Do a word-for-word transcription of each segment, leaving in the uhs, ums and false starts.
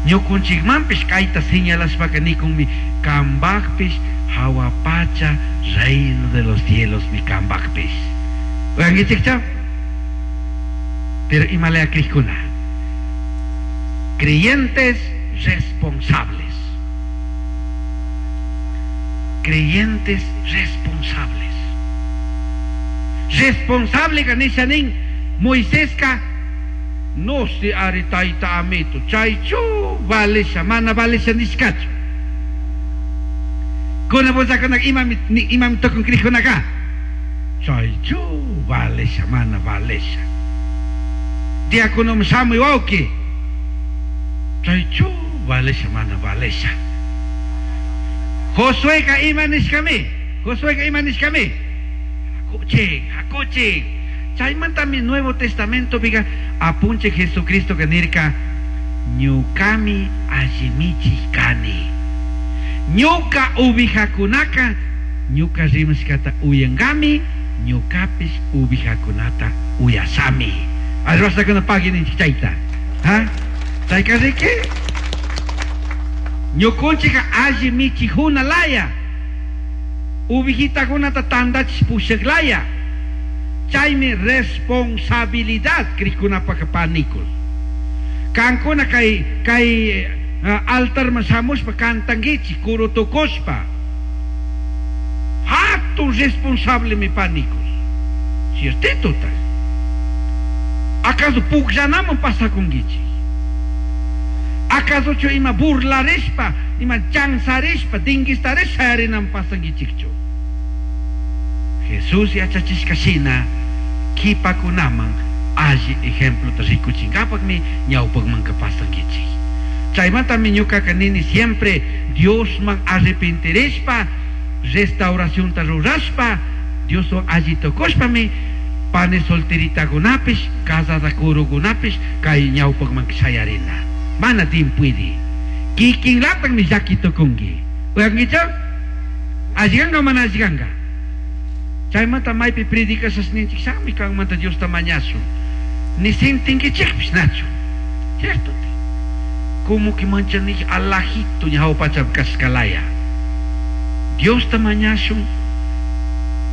Ñukunchikmanpish kayta señalashpaka nikunmi kambakpish hawa pacha reino de los cielos mi kambakpish. Uyankichikcha? Pero imalaya krikuna. Creyentes responsables. Creyentes responsables. Responsable ka nin Moiseska no si ari tayta amito chaychu valesha mana valesha nishkachu. Kuna punllakuna imami imami tukun krikkunaka chaychu valesha mana valesha. Diácono shamuy wawki chaychu valesha mana valesha. Josueka ima nishkami Josueka ima nishkami hakuchik hakuchik. Chaymantami Nuevo Testamento piqa apunche Jesucristo que nirka ñukami allimichik kani. Ñuka ubijakunaka ñuka rimashkata uyankami ñukapish ubijakunata uyashami. Arrastakuna pagui ninchik chayta. Ha? Chayka riki? Ñukunchika alli michijuna laya. Ubijitakunata tandachish pushak laya. Chaymi responsabilidad krikkunapaka panikul. Kankuna kay kay uh, altarman shamushpa kantankichik kurutukushpa. Hatun responsable mi panikul. Ciertito tal. ¿Acaso pukllanaman pasakunkichik? ¿Acaso chu ima burlarishpa, ima chanzarishpa, dinguistarishpa shayarinam pasankichikchu? Jesús yachachishka shina kipakunaman alli ejemplo rikuchinkapakmi ñawpakmanka pasankichik. Chaymantami ñukaka nini siempre Diosman arrepentirishpa, restauracionta rurashpa, Dioswan alli tukushpami pane solteritakunapish, casada kurukunapish kay ñawpakman shayarina. Mana timpuydi. Kikinlataqmi llaki tukunki. Uyankichu? Alliganka mana alliganka? Chaymanta maypi predicashasninchik shami kanmanta Diosta mañashun. Ni sintinkichikpish nachu. Cierto? Como que manchanich alajito ñawpacha kashkalaya. Diosta mañashun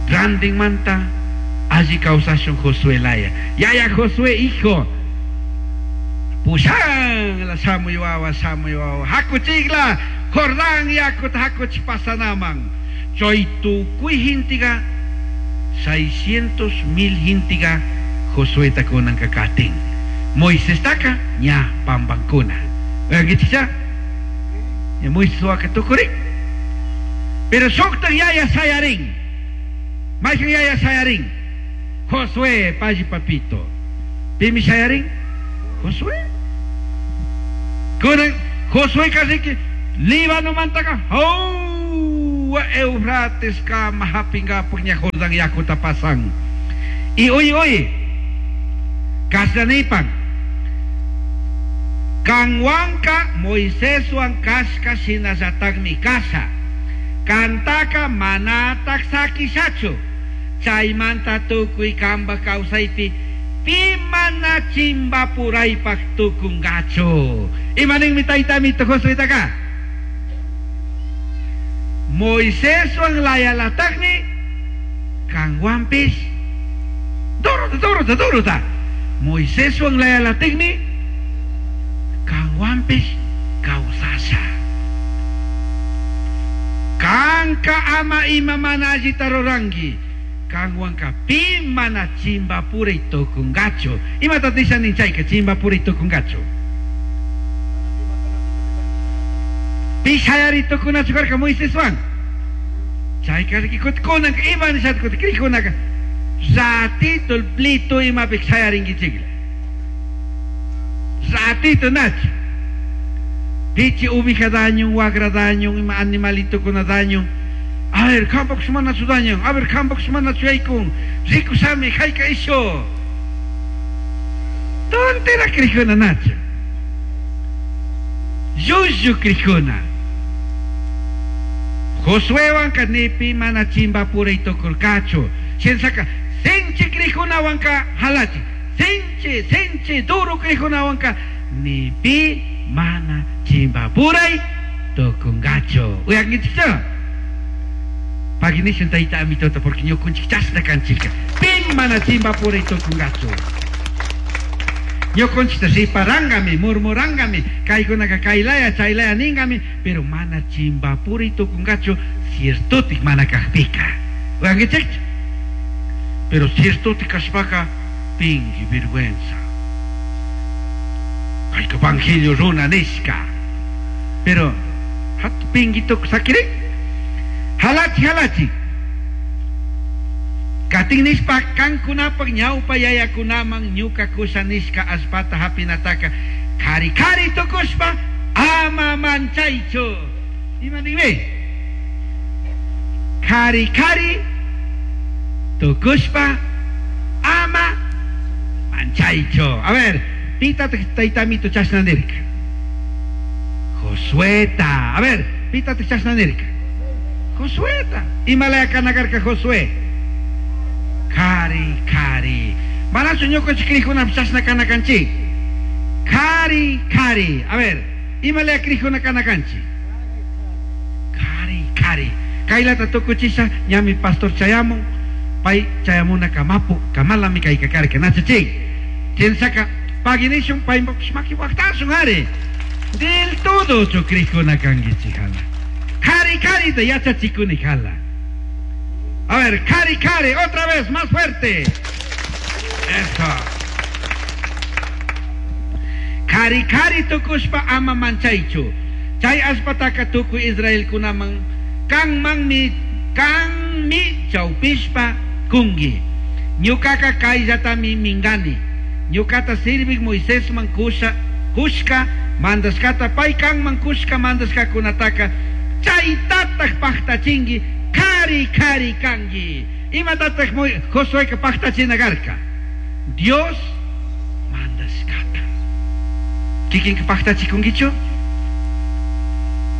grandinmanta alli kawsashun Josué laya. Yaya Josué hijo. Pushan la shamuy wawa shamuy wawa. Hakuchikla Jordán yakuta hakuch pasanaman. Chay tukuy hintiga seiscientos mil hintiga Josué kunanka katin. Moisés taka ña pambankuna. Uyankichikcha? Ya Moisés waka tukurin. Pero shuktan yaya shayarin. Maykan yaya shayarin. Josué, payi papito. Pimi shayarin? Josué. Kunan Josué kasiki Líbano mantaka. Oh, Eufrates kama hapingapag niya Jordan yakuta pasan. Y oye, oye. Kasanipan. Kanwanka Moiséswan kashka shinallatakmi kasha. Kantaka manatak sakishachu. Chaymanta tukuy kamba kawsaypi pi mana chimbapuraypaq tukungachu. Imaninmi taytamito Josuétaka? Moiséswan layalataqmi kanwanpis duruta duruta duruta. Moiséswan layalatikmi kanwanpis kawsasha. Kanka ama ima mana allita ruranki. Kanwanka pi mana chimbapuray tukungachu. Imata nishanin chayka chimbapuray tukungachu. Pi shayari tukunachu karka Moiséswan. Chayka riki kunanka ima nishata kuti krikunaka ratito el plito imapik shayarinkichikla. Ratito nachu. Pichi ubija daño, wagra daño, ima animalito kuna daño. A ver, kampak manachu daño, a ver, kampak manachu yaykun. Rikusami, hayka isho. Tontera krijuna nachu. Llullu krijuna. Josuéwanka nipi mana chimbapuray tukurkachu. Shinsaka sinchi krijunawanka halachi. Sinchi, sinchi, duro krijunawanka nipi mana Chimbapuray tukungachu. Uyankichikchu? Paginishun tayta amitota porque ñukunchik chashna kanchika. Pin mana chimbapuray tukungachu. Ñukunchikta riparangami, murmurangami, kaykunaka kaylaya, chaylaya ningami, pero mana chimbapuri tukungachu ciertotik mana kajpika. Uyankichikchu? Pero ciertotik kashpaka pingui vergüenza. Kayka evangelio runa nishka. Pero hat pingui tuk sakiri? Halachi halachi. Katin nishpa kankunapak ñawpa yayakunaman ñuka kusha nishka allpata hapinataka kari kari tukushpa ama manchaychu. Ima ninmi? Kari kari tukushpa ama manchaychu. A ver, pita taytamito chashna nirka. Josueta. A ver, pita chashna nirka. Josueta. Imalaya kanakarka Josué. Kari kari. Manachu ñukanchik krikuna chashna kanakanchik. Kari kari. A ver, imalaya krikuna kanakanchik. Kari kari. Kaylata tukuchisha ñami pastor chayamun. Pay chayamuna kamapu kamalami kaykakarka nachachik. Chinsaka paginishun pay maki waqtashun ari. Del todo chukrikuna kankichik hala. Kari kari te yachachikuni hala. A ver, kari kari, otra vez, más fuerte. Eso. Kari kari tukushpa ama manchaychu. Chay allpataka tukuy Israelkunaman kanmanmi kanmi chawpishpa kungi. Ñukaka kayllatami mingani. Ñukata sirvik Moisesman kusha kushka mandashkata pay kanman kushka mandashkakunataka chaytataq paqtachinki kari kari kanki. Imatataq Josueka paqtachina karka? Dios mandashkata. Kikinka paqtachikunkichu?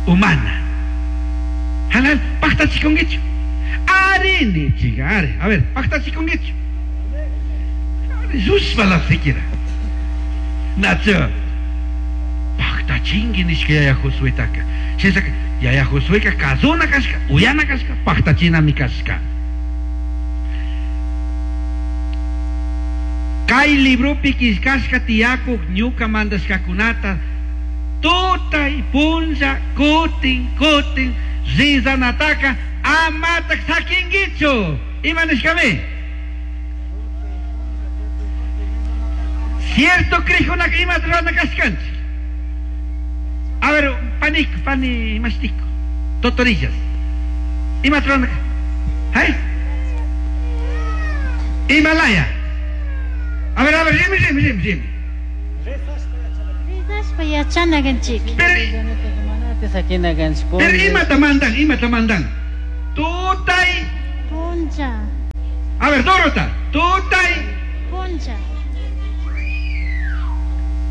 Humana. Halal paqtachikunkichu? Arini chica, ari. A ver, paqtachikunkichu? Yushpa la siquiera. Nacho. Paqtachinki nishka yaya Josuetaka. Shinashaka yaya Josueka kazuna kashka, uyana kashka, paqtachinami kashka. Kay libropi killkashka tiyakuq ñuka mandashkakunata tutay punlla kutin kutin rizanataka amatak sakinkichu. Ima nishkami? Cierto krikkunaka imata rurana kashkanchik. A ver, panik, pani mashtico, totorillas. Imata rurana? ¿Eh? Himalaya. A ver, a ver, rimi, rimi, rimi, rimi. Rizashpa yachana kanchik. Pero, pero imata mandan, imata mandan. Tutay. Puncha. A ver, Dorota, tutay. Puncha.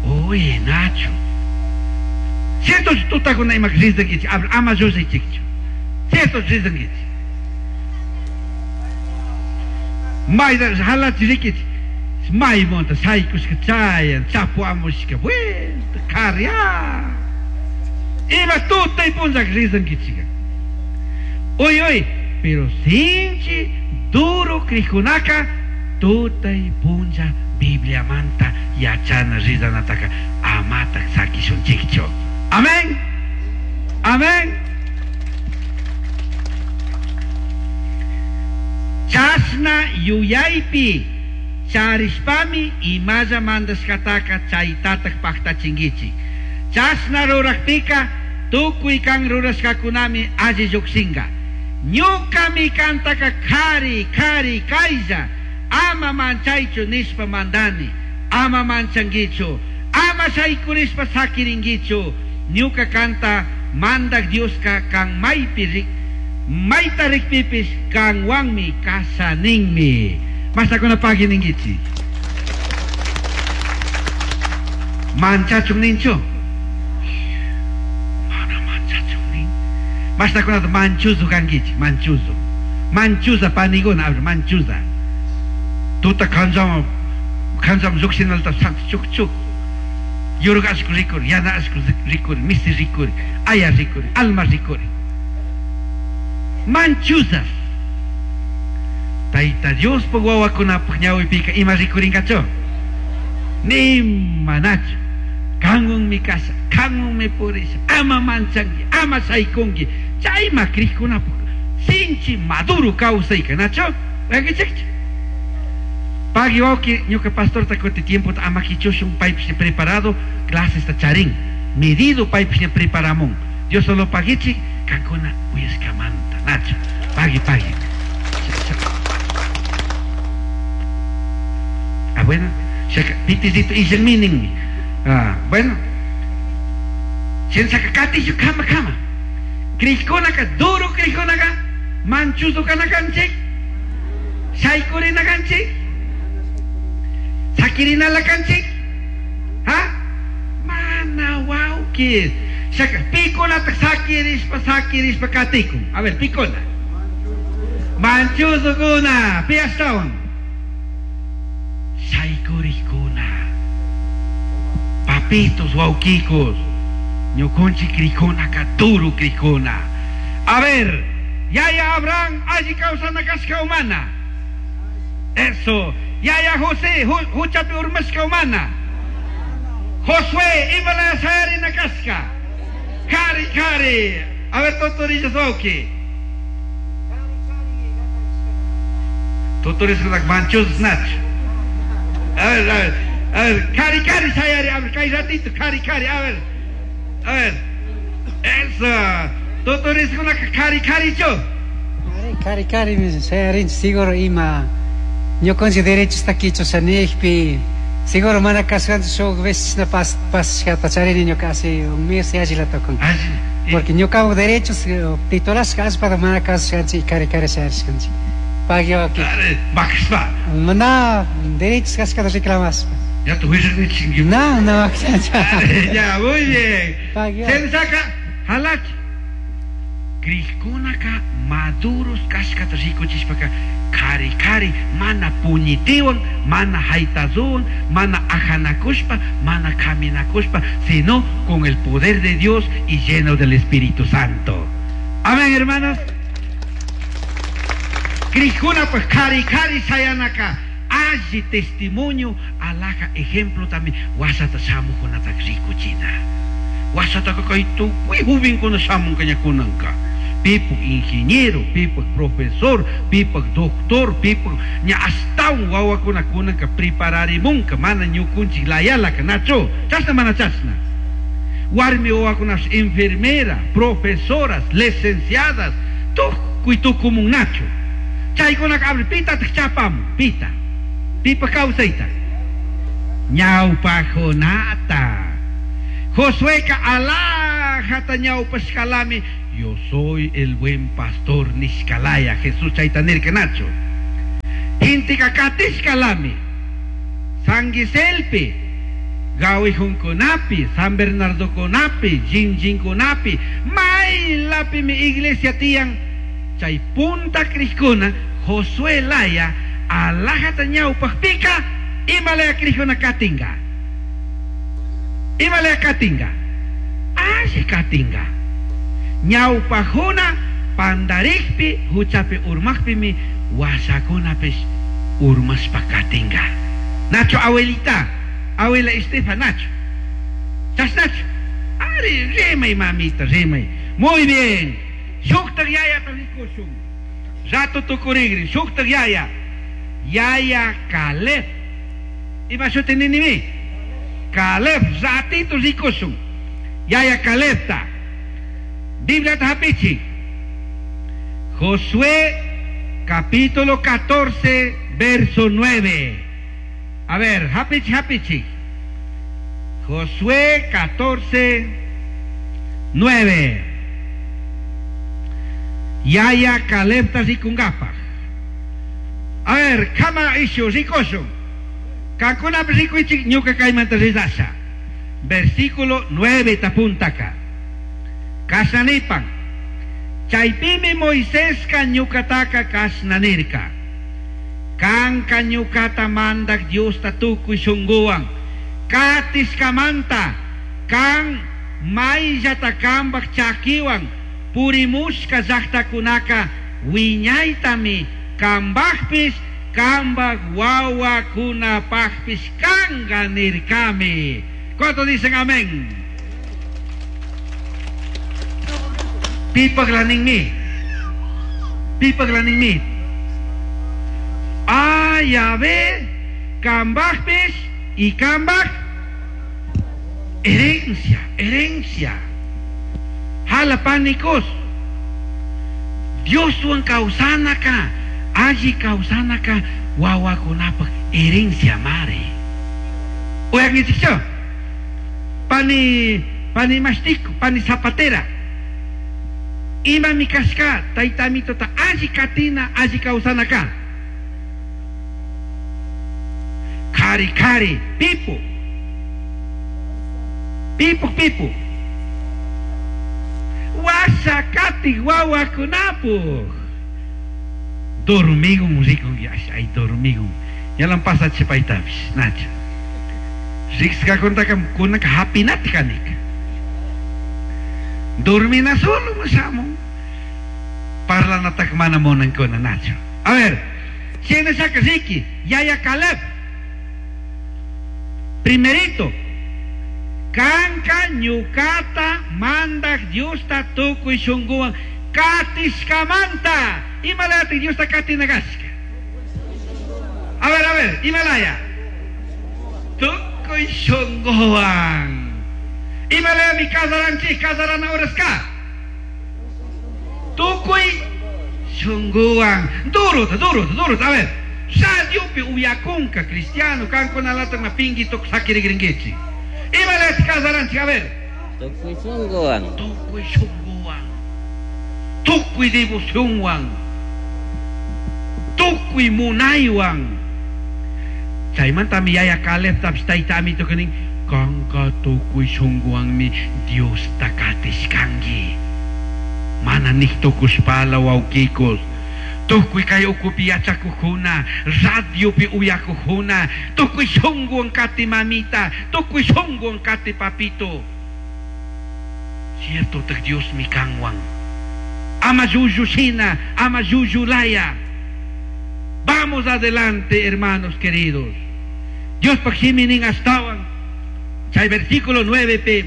Oye, Nacho. Cierto tutakuna ima rizankichik, ama llushaychikchu. Cierto rizankichik. Mayta halachi rikichik. Maymonta shaykushka chayan, chapuamushka, vuelta, karya. Ima tutay punchak rizankichika. Oy, oy, pero sinchi duro krikkunaka tutay puncha Bibliamanta yachana rizanataka amatak sakishunchikchu. Amén. Amén. Chashna yuyaypi charishpami imalla mandashkataka chaytatak paqtachinkichik. Chashna ruraqpika tukuy kan rurashkakunami alli lluqshinka. Ñukami kantaka kari kari kaylla ama manchaychu nishpa mandani, ama manchankichu, ama shaykurishpa sakirinkichu. Ñuka kanta mandak Dioska kan maypi rik mayta rikpipis kanwanmi kashaninmi. Mastakuna pagui ninkichik. Manchachun ninchu? Mana manchachun nin. Mastakunata manchuzu kankichik, manchuzu. Manchuza paniguna, a ver, manchuza. Tuta kanchama, kanchama lluqshinalta chuk chuk. Yurga ashku rikuri, yana ashku rikuri, misi rikuri, aya rikuri, alma rikuri. Manchuzas. Tayta Diospaq wawakunapaq ñawipika ima rikurinkachu? Ni manachu. Kanwanmi kasha, kanwanmi purisha, ama manchanki, ama shaykunki. Chayma krikkunapaq sinchi maduro kawsayka, nachu? Wakichikchu? Pagui wawki, ñuka pastorta kuti tiempota ama kichushun paypish preparado clases ta charin. Medido paypish preparamun. Dios solo pagichi, kankuna uyashkamanta, nachu. Pagui, pagui. Ah, bueno. Pitizito illanmi. Ah, bueno. Shinasaka katishu kama kama. Krishkunaka, duro krishkunaka, manchuzo kanakanchik, shaykurinakanchik, sakirinalakanchik, ha? Mana wawki. Shaka, pikunata sakirishpa, sakirishpa katikun. A ver, pikuna. Manchuzukuna, pi ashtawan. Shaykurikuna. Papitos, wawkikos. Ñukunchik krikuna duro krikuna. A ver, Yaya Abraham, alli kawsana kashka humana. Eso. Yaya José, huchapi urmashka humana. Josué, imala sayarina kashka. Kari, kari. A ver, totorillas wawki. Totorillas manchos nach. A ver, a ver, a ver, kari, kari sayari, a ver, kay ratito, kari, kari, a ver. A ver, eso, totoriskunaka kari kari cho. Kari kari sayarinchik seguro ima ñukanchik derechosta kichushanijpi seguro mana kashkanchik shuk veces na pas pasashkata charini ñuka hace un mes yallila tukun. Porque ñukapak derechos titulashka allpata mana kasushkanchik kari kari sayarishkanchik. Pagui wawki. Bakashpa. Mana derechos kashkata reclamashpa. Ya tu huishak. No, no. Ya, muy bien. Sensaka, halach. Krishkunaka maduros kashkata rikuchishpaka kari kari mana puñitiwan, mana haytazuwan, mana ajanakushpa, mana caminakushpa, sino con el poder de Dios y lleno del Espíritu Santo. Amén, hermanos. Krishkuna pues kari kari sayanaka. Alli testimonio, alaja ejemplo también. Wasata shamukunata rikuchina. Wasata kay tukuy jubinkuna shamun kañakunanka. Pipak ingeniero, pipak profesor, pipak doctor, pipak ña astawan wawakuna kunanka prepararimunka mana ñukunchik layalaka nacho. Chasna mana chasna. Warmi wawakunash enfermera, profesoras, licenciadas, tukuy tukumun nacho. Chaykunaka abre pita chapamun, pita. Pipa kawsayta. Ñawpajunata. Josueka alajata ñawpashkalami. Yo soy el buen pastor nishkalaya. Jesús chayta nirka nacho. Intika katishkalami. Sanguiselpi. Gawijunkunapi, San Bernardo kunapi, Jinjinkunapi, maylapi mi iglesia tiyan. Chay punta krishkuna, Josué laya, alajata ñawpaqpika, imalaya krishkuna katinga. Imalaya katinga. Alli katinga. Ñawpajuna pandarikpi, huchapi urmaqpimi, wasakunapish urmashpa katinga. Nacho abuelita, abuela Estefa, Nacho. Chas Nacho. Ari, rimay mamita, rimay. Muy bien. Shuktak yaya rikushun. Rato tukurigri, shuktak yaya. Yaya Caleb. Ima shuti ninimi. Caleb, ratito rikushun. Yaya Calebta. Biblia hapichi. Josué capítulo catorce, verso nueve. A ver, hapichi, hapichi. Josué catorce, nueve. Yaya Calebta rikungapaj. A ver, kama ishu rikushun. Kankuna rikuichik ñuka kaymanta ridasha. Versículo nueve tapuntaka. Kasanipan. Chaypimi Moisésca ñukataka kasnanirka. Kanka ñukata mandak Diosta tukuy shunguwan, Katishkamanta kan mayllata kambaj chakiwan purimushka llaqtakunaka wiñaytami kambajpis kambaj wawakunapajpis kanga nirkami. ¿Cuántos dicen amén? Pipaglaninmi. Pipaglaninmi. Ah, ya ve, kambajpis y kambaj herencia, herencia. Jala panicos. Dioswan kawsanaka, alli kawsanaka wawakunapaj herencia mare. Oigan, pani pani mastico, pani zapatera. Ima mi kashka, tayta amitota alli katina, alli kawsanaka. Kari kari, pipo. Pipo pipo. Wasakati wawakunapu. Dormigun rikun, ay dormigun. Yalan pasa chipaytapis, nacha. Rikskakuntaka kunaka hapinati kanika. Dormina solo masamo. Parlanatak mana munankuna nacho. A ver, shinashaka riki, yaya Caleb. Primerito, kanka ñukata mandak Diosta tukuy shunguwan katishkamanta. Imalaya Diosta katinagashka. A ver, a ver, imalaya. Tukuy shunguwan. Imalaya mi kasaranchik, kasarana oraska. Tukuy shunguwan. Duro, duro, duro, a ver. Radiopi uyakunka cristiano kankunalata ma pinguito sakirigringuichi. Imalaya kasaranchik, a ver. Tukuy shunguwan. Tukuy shunguwan. Tukuy devocionwan. Tukuy munaywan. Chaymanta mi yaya Caleb tapis tayta amito kanin kanka tukuy shunguwanmi Diosta katishkanki. Mana nihtukushpala wawkikos. Tukuy kay ukupi yachakujuna, radiopi uyakujuna, tukuy shunguwan kati mamita, tukuy shunguwan kati papito. Cierto tak Dios mi kanwan. Ama yuyushina, ama yuyulaya. Vamos adelante, hermanos queridos. Dios pakshiminin astawan. Chay versículo nueve p.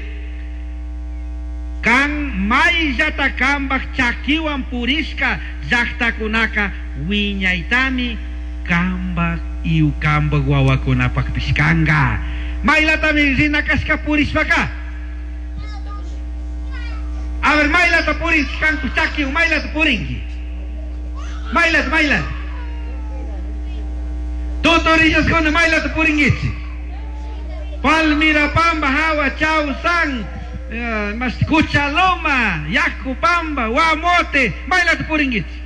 Kan mayllata kambaj chakiwan purishka llaqtakunaka wiñaytami kambaj iu kambaj wawakunapaqpis kanqa. Maylatami rinakashka purishpaka. A ver, maylata purinki kanku chakiwan, maylata purinki. Maylata, maylata. Tutorillaskuna maylata purinkichik. Palmira Pamba, Hawa, Chausan, Uh, mas Cuchaloma, Yacupamba, Guamote, maylata puringuichi.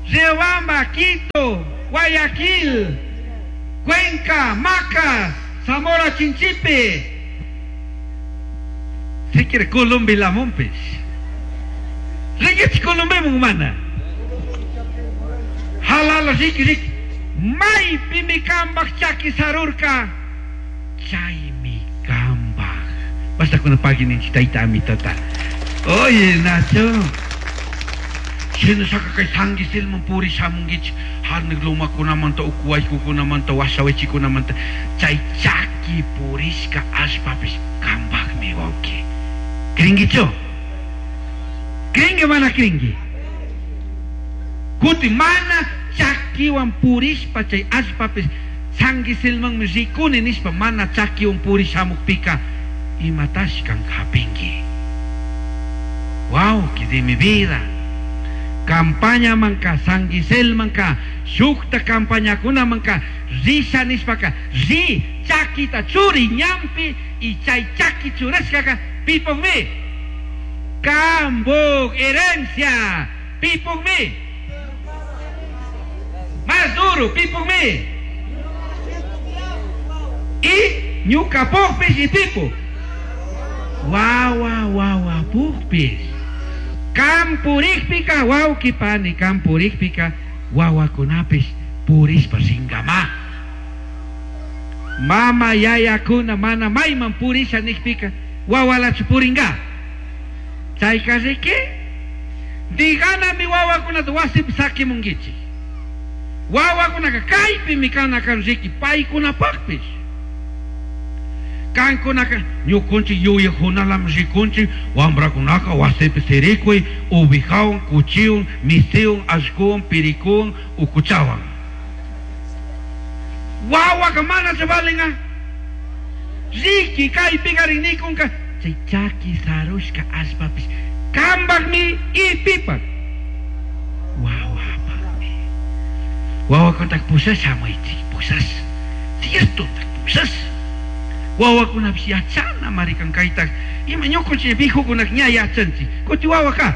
Riobamba, Quito, Guayaquil, Cuenca, Macas, Zamora Chinchipe. Si quiere Colombia la Mompes. Ringuichi Colombia humana. Halala riki riki. May pimikambak chaki sarurka. Chaymi kambak. Basta con paginin tayta amitata. Oye, Nacho. Shinashaka kay sangisilman puri shamungichi. Harnig lumakunamanta, ukuwaykukunamanta, washawichikunamanta. Chay chaki purishka ashpapis kambakmi wawki. Kringicho? Kringi mana kringi? Kuti mana chakiwan purishpa chay ashpapis sangisilmanmi rikuni nishpa mana chakiwan purishamukpika imatashkan hapinki. Wow, que de mi vida. Campaña manka, sanguisel manka, shukta campaña kuna manka, risha nishpaka, ri chakita churi ñampi y chay chaki churashkaka pipukmi. Kambuk herencia, pipukmi. Más duro, pipukmi. Y ñuka pukpis y pipu. Wawa wawa pukpis. Kampurikpika wawkipani kampurikpika wawakunapis purishpa ringama. Mama yayakuna mana mayman purisha nikpika wawalachu puringa. Chayka riki diganami wawakunata wasipi sakimunkichik. Wawakunaka kaypimi kana kan riki paykunapaqpish. Kankunaka ñukunchik yuyajunalami rikunchik wamrakunaka wasipi sirikuy ubijawan, kuchiwan, misiwan, allkuwan, pirikuwan, ukuchawan. Wawaka manachu valenga. Riki kaypikarin nikunka chay chaki sarushka allpapish kambakmi ipipak wawapakmi. Wawakunataka pushash hamuychik, pushash. Cierto, pushash. Wawakunapish yachana marikan kaytak ima ñukunchik vijukunak ña yachanchik kuti wawaka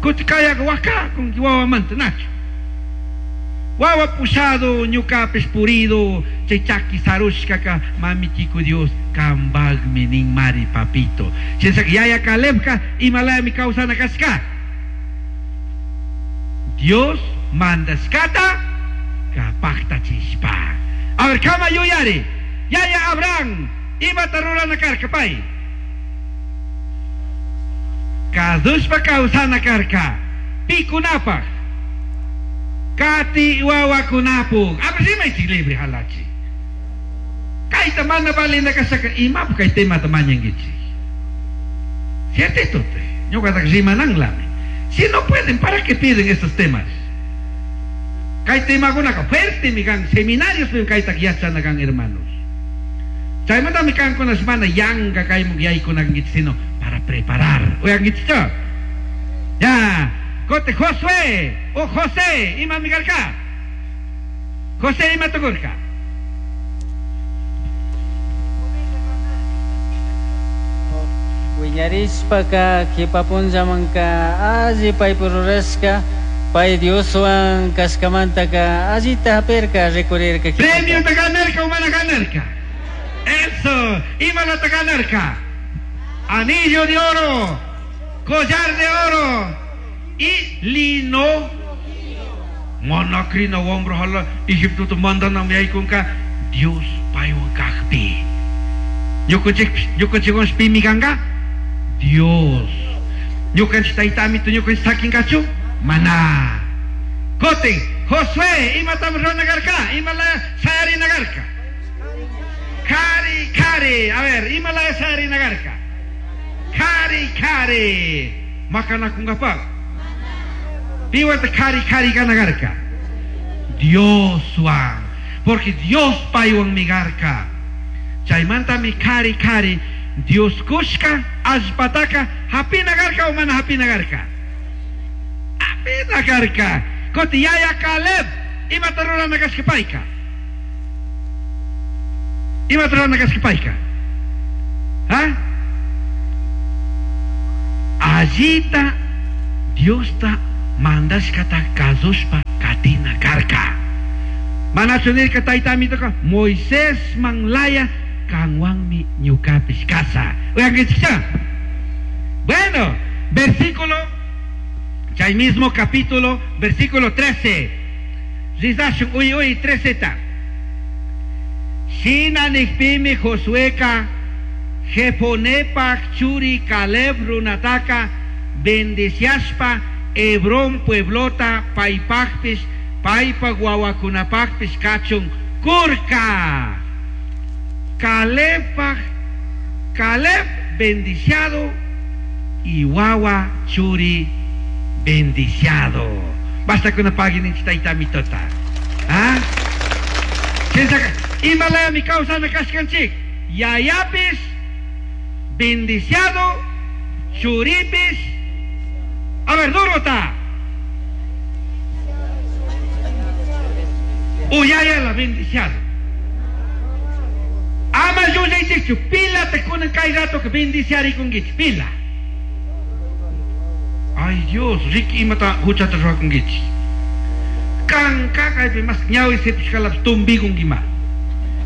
kuti kayaka waka kunki wawamanta nachu. Wawa pushado ñukapish purido chay chaki sarushkaka mamitiku Dios kambakmi nin mari papito. Shinashaka yaya Calebka imalayami kawsana kashka. Dios mandashkata kapaqtachishpa. A ver, kama yuyari. Yaya Abraham imata rurana karka pay. Kazushpa kawsana karka. Pikunapaq. Kati wawakunapuk. A ver, rimaychik libre halachi. Kayta mana valina kashaka imapuk kay temata mañankichik. Ciertito, ñuqataq rimananlami. Si no pueden, ¿para qué piden estos temas? Kay temakunaka fuerte mi kan seminarios kaytaq yachana kan hermanos. Chaymantami kankuna mana yanka kaymun yaykunankichik sino para preparar. Uyankichikchu? Ya, kote Josué o José imami karka. José ima tukurka. Wiñarishpaka kipapunllamanka alli paypu rurashka pay Dioswan kashkamantaka allita hapirka rikurirka. Premio te ganarka o mana ganarka. Eso, imalata ganarka. Anillo de oro, collar de oro y lino. Manakrina wambra hala Egipto mandanam yaykunka Dios paywan kaqpi. Ñukanchik ñukanchikwan pimi kanka? Dios. Ñukanchik taytamito ñukanchik sakinkachu? Mana. Kotin, Josué, imatam ruranakarka, imala sayarinakarka. Kari, kari, a ver, imala sayarinakarka. Kari, kari. Makanakunkapaq. Piwata kari, kari kanakarka. Dioswan. Porque Dios paywan migarka. Chaymantami kari, kari. Dios kushka, allpataka, hapinakarka o mana hapinakarka. Hapinakarka. Koti yaya Caleb, imata rurana kashka payka. Imata rurana kashka payka. ¿Ah? Allita Diosta mandashkata kazushpa katina karka. Manachu nirka taytamitoka Moisés manlaya kanwanmi ñukapish kasa. Uyankichikcha. Bueno, versículo, chay mismo capítulo, versículo trece. Rizashun uy uy treceta. Shina nikpimi Josueka Jefonepak churi Caleb runataka bendiciashpa Hebrón pueblota paypaqpis paypa wawakunapaqpis kachun kurka. Calebpaq Caleb bendiciado y wawa churi bendiciado. Basta con una página taytamitota. ¿Ah? Imalaya mi causa na kashkanchik. Yayapis bendiciado, churipis. A ver, duro está. Uyaya la bendiciado. Ama yuyaychikchu, pila te kunan kay rato que bendiciar con gich, pila. Ay Dios, riki imata huchata ruwakunkichik. Kanka kaypi mas ñawi sipishkalapis tumbikunki ima.